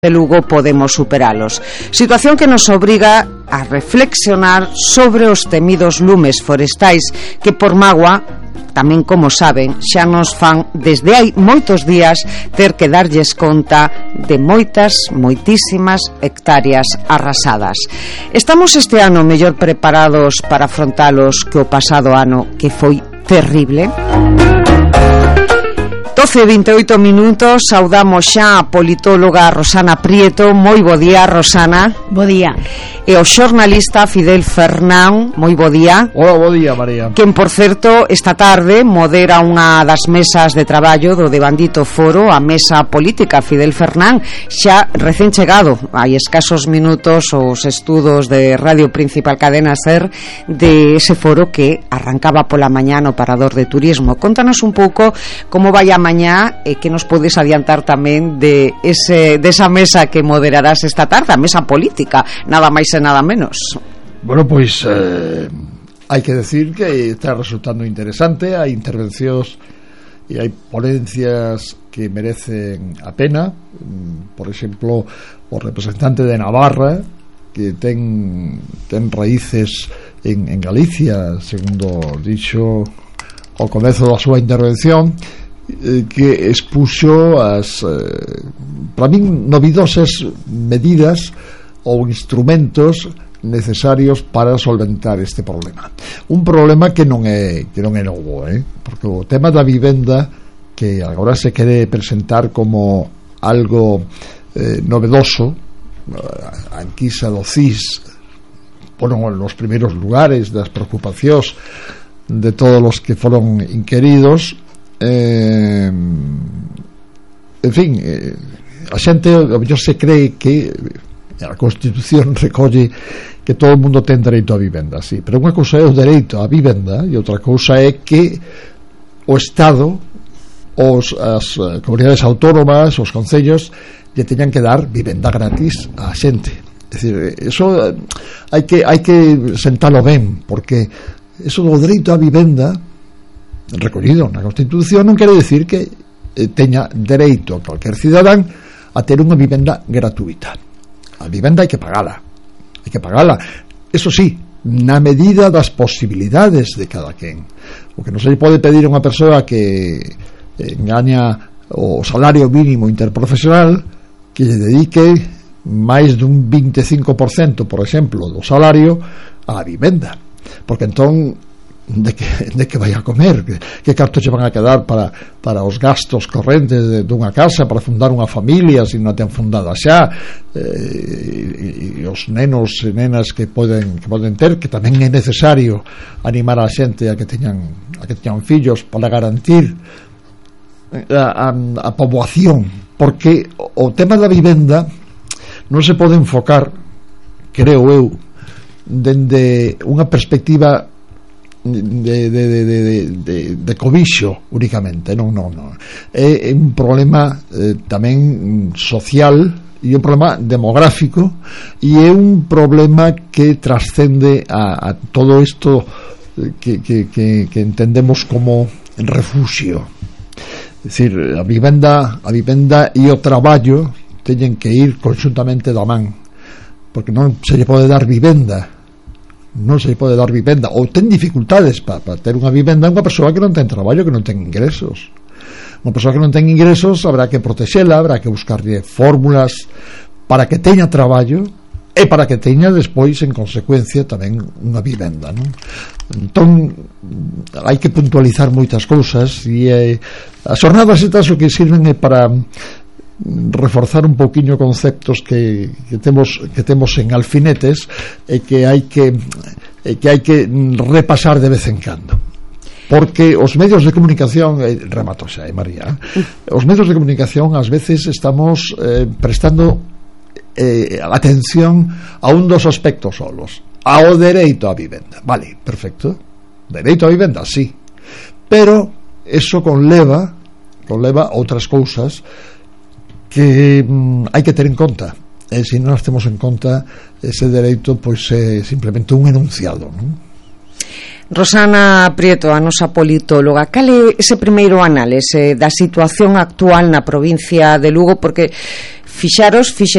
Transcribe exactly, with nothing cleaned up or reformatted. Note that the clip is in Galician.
de Lugo podemos superalos. Situación que nos obriga a reflexionar sobre os temidos lumes forestais que por mágoa, tamén como saben, xa nos fan desde hai moitos días ter que darlles conta de moitas, moitísimas hectáreas arrasadas. Estamos este ano mellor preparados para afrontalos que o pasado ano, que foi terrible? doce e vinte e oito minutos, saudamos xa a politóloga Rosana Prieto. Moi bo día, Rosana. Bo día. E o xornalista Fidel Fernán. Moi bo día. Hola, bo día, María. Quen, por certo, esta tarde modera unha das mesas de traballo do devandito foro, a mesa política. Fidel Fernán, xa recén chegado, hai escasos minutos, os estudos de Radio Principal Cadena Ser de ese foro que arrancaba pola mañá no Parador de Turismo. Contanos un pouco como vai a mañá e que nos podes adiantar tamén de ese desa mesa que moderarás esta tarde, a mesa política, nada máis e nada menos. Bueno, pois eh, hai que decir que está resultando interesante, hai intervencións e hai ponencias que merecen a pena. Por exemplo, o representante de Navarra, que ten ten raíces en, en Galicia, segundo dixo ao comezo da súa intervención, que expuxo as eh, para min novidosas medidas ou instrumentos necesarios para solventar este problema. Un problema que non é que non é novo, eh? Porque o tema da vivenda, que agora se quere presentar como algo eh, novedoso, a enquisa do C I S pono nos primeiros lugares das preocupacións de todos os que foron inquiridos. Eh, en fin, eh, a xente a mellor se cree que a Constitución recolle que todo o mundo ten dereito a vivenda, sí, pero unha cousa é o dereito a vivenda e outra cousa é que o Estado, os, as comunidades autónomas, os concellos lle teñan que dar vivenda gratis á xente. É dicir, eso hai que, hai que sentalo ben, porque eso do dereito a vivenda recollido na Constitución non quere decir que eh, teña dereito a cualquier cidadán a ter unha vivenda gratuita. A vivenda hai que pagala, hai que pagala, eso sí, na medida das posibilidades de cada quen. O que non se pode pedir a unha persoa que eh, gaña o salario mínimo interprofesional que lle dedique máis dun vinte e cinco por cento, por exemplo, do salario á vivenda, porque entón de que, de que vai a comer, que, que cartos che van a quedar para, para os gastos correntes de, dunha casa, para fundar unha familia se non a ten fundada xa, eh, e, e os nenos e nenas que poden, que poden ter, que tamén é necesario animar a xente a que teñan a que teñan fillos para garantir a, a, a poboación, porque o, o tema da vivenda non se pode enfocar, creo eu, dende unha perspectiva De, de, de, de, de, de cobixo únicamente, non, non, non. É, é un problema eh, tamén social e un problema demográfico e é un problema que trascende a, a todo isto que, que, que, que entendemos como refugio. É dicir, a vivenda a vivenda e o traballo teñen que ir conxuntamente da man, porque non se lle pode dar vivenda non se pode dar vivenda ou ten dificultades para pa ter unha vivenda unha persoa que non ten traballo, que non ten ingresos. Unha persoa que non ten ingresos habrá que protexela, habrá que buscarlle fórmulas para que teña traballo e para que teña despois en consecuencia tamén unha vivenda, non? Entón hai que puntualizar moitas cousas e eh, as jornadas estas o que sirven é para reforzar un pouquiño conceptos que, que temos que temos en alfinetes e que hai que e que hai que repasar de vez en cando, porque os medios de comunicación eh, remato xa, eh, María os medios de comunicación ás veces estamos eh, prestando eh, atención a un dos aspectos solos, ao dereito á vivenda. Vale, perfecto, dereito á vivenda, sí, pero eso conleva conleva outras cousas que mm, hai que ter en conta, e se non temos en conta ese dereito, pois é simplemente un enunciado, non? Rosana Prieto, a nosa politóloga, cal é ese primeiro análise da situación actual na provincia de Lugo? Porque fixaros, fixe